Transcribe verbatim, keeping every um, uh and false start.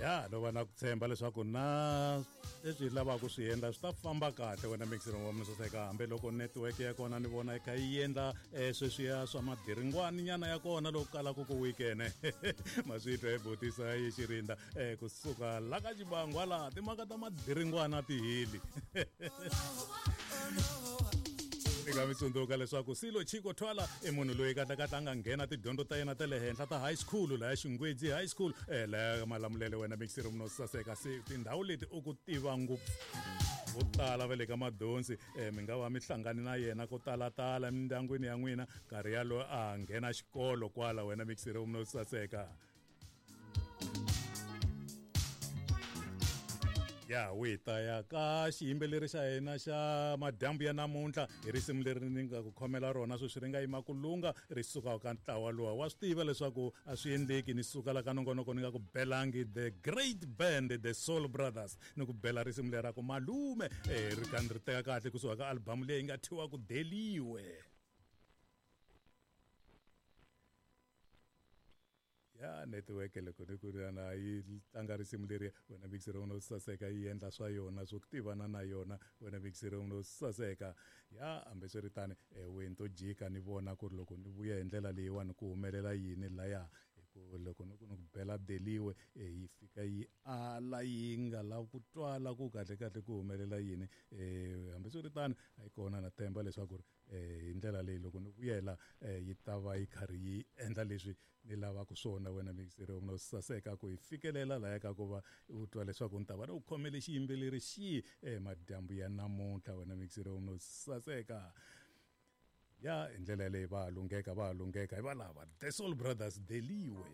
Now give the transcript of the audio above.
Ya no va na ku tshemba leswaku na leswi hi lavaka ku swi endla swi ta famba kahle wena mixer wa mina saseka, hambiloko network ya kona ni vona yi kha yi endla um sweswiya swa madiringwani nyana ya kona loko kalaka ku weekend ma swi twa hi butisa yi xirinda um kusuka la ka xibangwa laha timhaka ta madiringwana ti heli. Ni nga mi tsundzuka leswaku Silo Chiko Twala i munhu loyi kahlekahle a nga nghena tidyondzo ta yena ta le henhla ta high school laya Xingwedzi High School eh laya Malamulele wena mixer munhu saseka. Se tindhawu leti u ku tiva ngopfu vo tala va le ka madonsi eh mi nga va mi hlangani na yena ko talatala emindyangwini ya n'wina nkarhi yalowo a nghena xikolo kwala wena mixer munhu saseka. Ya wi ta ya ka xiyimbeleri xa hina xa madyambu ya namuntlha hi risimu leri ni nga ku khomela rona sweswi ri nga yima ku lunga ri suka ka ntlawa luwa wa swi tiva leswaku a swi endleki ni suka la ka nongonoko ni nga ku belangi the great band the Soul Brothers ni ku bela risimu leri ra ku malume eh ri ka ri teka kahle kusuka ka album leyi nga thyiwa ku Deliwe. Ya network loko ni ku ri na yi tlanga risimu leri wena mixer u no saseka yi endla swa yona swo tivana na yona wena mixer u no saseka. Ya hambiswiritano wena to jika ni vona ku ri loko ni vuya hi ndlela leyiwani ku humelela yini laya hi ku loko ni ku ni ku bela Deliwe yi fika yi ala yi nga lavi ku twala ku kahle kahle ku humelela yini. Hambiswiritano a yi kona na tshemba leswaku ri hi ndlela leyi loko ni vuyela yi ta va yi karhi yi endla leswi ni lavaka swona wena mixer u no saseka ku hi fikelela laya ka ku va u twa leswaku ni ta va ni u khomele xiyimbeleri xihi madyambu ya namuntlha wena mixer u no saseka. Ya hi ndlela leyi va lungheka va lungheka hi valava The Soul Brothers Deliwe.